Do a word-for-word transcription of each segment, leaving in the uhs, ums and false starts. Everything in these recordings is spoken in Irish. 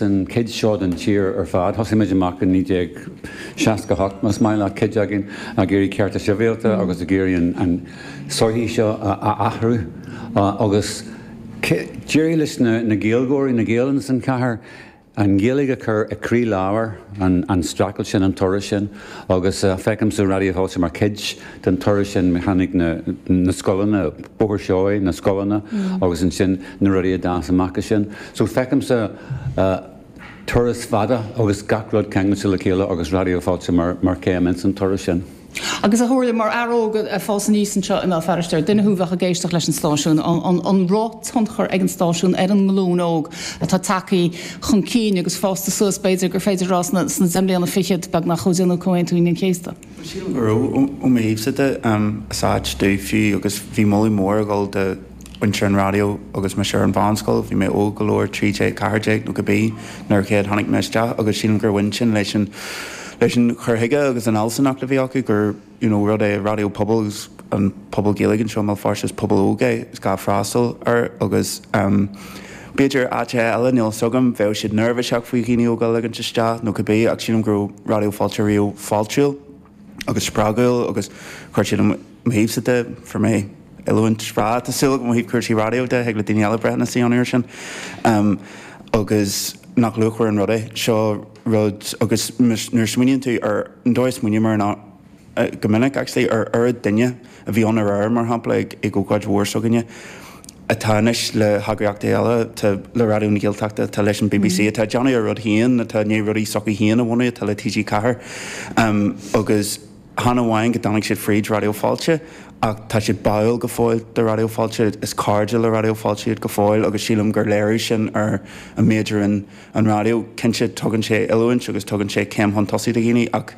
An chuid seo den tír ar fad, thosaigh muid amach in naoi déag seasca hocht, más maith leat, cuid againn ag iarraidh cearta sibhialta agus ag iarraidh an sochaí seo a athrú agus d'éirigh leis na Gaeilgeoirí, na Gaeil ins an chathair, an Ghaeilge a chur i gcroílár an streachailt sin, an turas sin agus feicimse Raidió Fáilte mar chuid den turas sin. Tháinig na scoileanna, Bóthar Seoighe, na scoileanna agus ansin na rudaí a d'fhás amach as sin. So feicimse turas fada agus gach rud ceangailte le chéile agus Raidió Fáilte mar chéim ins an turas sin. Agus a Shomhairle, mar fhear óg ag fás aníos anseo i mBéal Feirste, ar duine thú a bheadh ag éisteacht leis an stáisiún, an raibh tionchar ag an stáisiún ar an nglúin óg atá tagtha chun cinn agus fásta suas, b'fhéidir gur féidir a rá sna deich mbliana fichead beagnach ó déanadh Comhaontú Aoine an Chéasta? Sílim go raibh, ó mo thaobhsa de, is áit domh fiú agus bhí moladh mór ag dul do mhuintir an raidió agus mise ar an mheánscoil, bhí mé óg go leor, trí déag, ceathair déag nó cibé, nuair a chéad tháinig mé isteach agus sílim gur bhain sin leis an leis an chur chuige agus an fhealsúnacht a bhí acu gur you know rud é raidió pobail agus an pobal Gaeilge anseo i mBéal Feirste is pobal óg é is gá freastal air agus um b'fhéidir áiteacha eile níl fhios agam bheadh siad neirbhíseach faoi dhaoine óga a ligint isteach nó cibé ach sílim go raibh Raidió Fáilte riamh fáiltiúil agus spreagúil agus chuir siad ó mo thaobhsa de fuair mé oiliúint bhreá tá súil agam ó thaobh cúrsaí raidió de thig le daoine eile breithiúnas a dhéanamh air sin um agus nach luachmhar an rud é seo rud agus nuair a smaoiníonn tú ar an dóigh a smaoiním air ná go minic actually ar oiread duine a bhí ann aréir mar shampla ag ag ócáid mhór s'againne atá anois le heagraíochtaí eile atá le Raidió na Gaeltachta atá leis an BBC atá ag déanamh a rud féin atá i ndiaidh rudaí s'acu féin a bhunú atá le TG Ceathair agus chan amháin go dtáinig siad fríd Raidió Fáilte ach tá siad báúil go fóill do Raidió Fáilte, is cairde le Raidió Fáilte iad go fóill agus sílim gur léiriú sin ar an méid a rinne an raidió. Cinnte tugann sé oiliúint agus tugann sé céim chun tosaigh do dhaoine ach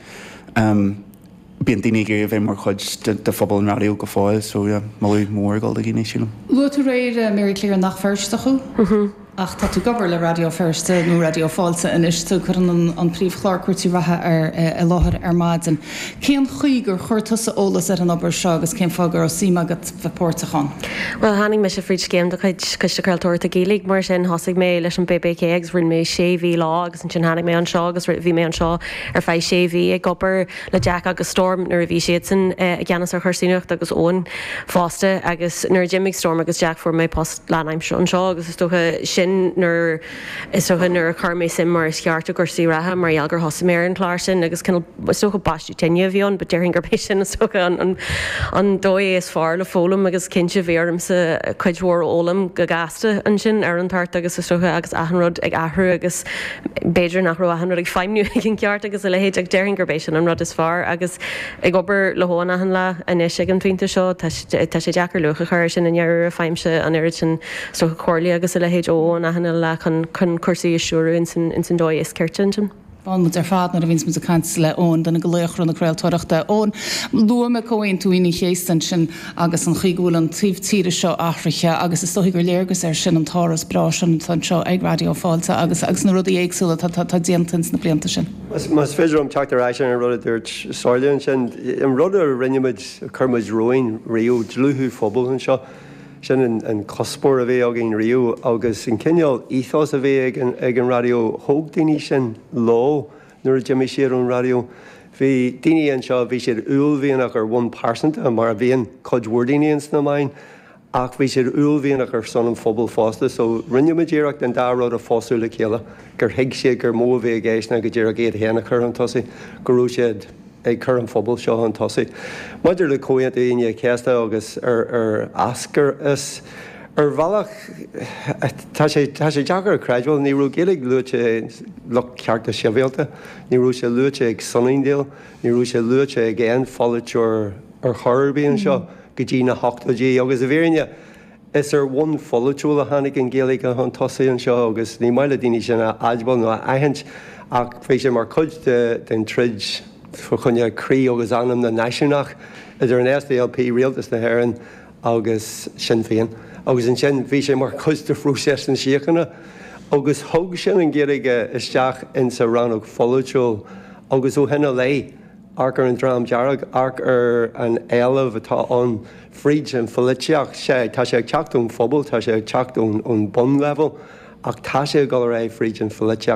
bíonn daoine ag iarraidh a bheith mar chuid de phobal an raidió go fóill so yeah, moladh mór ag dul do dhaoine sílim. Luaigh tú aréir, Mary Claire, nach Feirsteach thú ach tá tú ag obair le Raidió Feirste nó Raidió Fáilte anois, tú cuireann an príomhchlár Cúrsaí Reatha ar i láthair ar maidin. Cén chaoi gur chuir tusa eolas ar an obair seo agus cén fáth go raibh suim agat bheith páirteach ann? Bhuel, tháinig mise fríd scéim de chuid Coiste Craoltóireachta Gaeilge, mar sin thosaigh mé leis an BBK agus rinne mé sé mhí leo agus ansin tháinig mé anseo agus bhí mé anseo ar feadh sé mhí ag obair le Jack agus Storm nuair a bhí siadsan i gceannas ar chúrsaí nuachta agus Eoin fosta agus nuair a d'imigh Storm agus Jack fuair mé post lánaimseartha anseo agus is dócha sin nuair is dócha nuair a chuir mé suim mar is ceart i gcúrsaí reatha mar gheall gur thosaigh mé ar an chlár sin agus cineál is dócha baisteadh tine a bhí ann but déarfainn gurb é sin is dócha an an an dóigh is fearr le foghlaim agus cinnte bhí ormsa cuid mhór a fhoghlaim go gasta ansin ar an toirt agus is dócha agus achan rud ag athrú agus b'fhéidir nach raibh achan rud ag feidhmiú ag an gceart agus a leithéid ach déarfainn gurb é sin an rud is fearr agus ag obair le hEoin achan lá anois ag an phointe seo tá tá sé deacair luach a chur air sin i ndáiríre faighimse an oiread sin is dócha comhairle agus a leithéid ó Eoin achan lá chun chun cúrsaí a stiúradh ins an ins an dóigh is cirte ansin. Báin muid ar fad nuair a bhíonns muid ag caint le Eoin, duine de laochra na craoltóireachta. Eoin, luaigh mé Comhaontú Aoine an Chéasta ansin agus an chaoi go bhfuil an taobh tíre seo athraithe agus is dóigh gur léargas air sin an t-áras breá sin atá anseo ag Raidió Fáilte agus agus na rudaí éagsúla atá atá déanta ins na blianta sin. Más féidir liom teacht ar ais ar an rud a dúirt Somhairle ansin, an rud a rinne muid, a chuir muid romhainn riamh, dlúthú phobail anseo, sin an cuspóir a bhí againn riamh agus an cineál ethos a bhí ag an ag an raidió, thóg daoine sin leo nuair a d'imigh siad ón raidió. Bhí daoine anseo, bhí siad uaillmhianach ar bhonn pearsanta, mar a bhíonn cuid mhór daoine ins na meáin, ach bhí siad uaillmhianach ar son an phobail fosta, so rinne muid iarracht an dá rud a phósadh le chéile, gur thuig siad gur mó a bhí i gceist ná go díreach iad féin a chur chun tosaigh, go raibh siad ag cur an phobail seo chun tosaigh. Maidir le Comhaontú Aoine an Chéasta agus ar ar eascair as, ar bhealach tá sé tá sé deacair a chreidbheáil, ní raibh Gaeilge luaite ag lucht cearta sibhialta, ní raibh sé luaite ag Sunningdale, ní raibh sé luaite ag aon pholaiteoir ar chor ar bith anseo go dtí na hochtóidí agus i bhfírinne Is ar bhonn pholaitiúil a tháinig an Ghaeilge chun tosaigh anseo agus ní maith le daoine sin a admháil nó a aithint ach bhí sé mar chuid den troid fá choinne croí agus anam na náisiúnach idir an SDLP, Rialtas na hÉireann agus Sinn Féin. Agus ansin bhí sé mar chuid de phróiseas na síochána agus thug sin an Ghaeilge isteach insa rannóg pholaitiúil agus ó shin i leith, Amharc ar an Dream Dearg, amharc ar an éileamh atá ann fríd an pholaitíocht. Sea, tá sé ag teacht ón phobal, tá sé ag teacht ón bunleibhéal ach tá sé ag dul ar aghaidh fríd an pholaitíocht.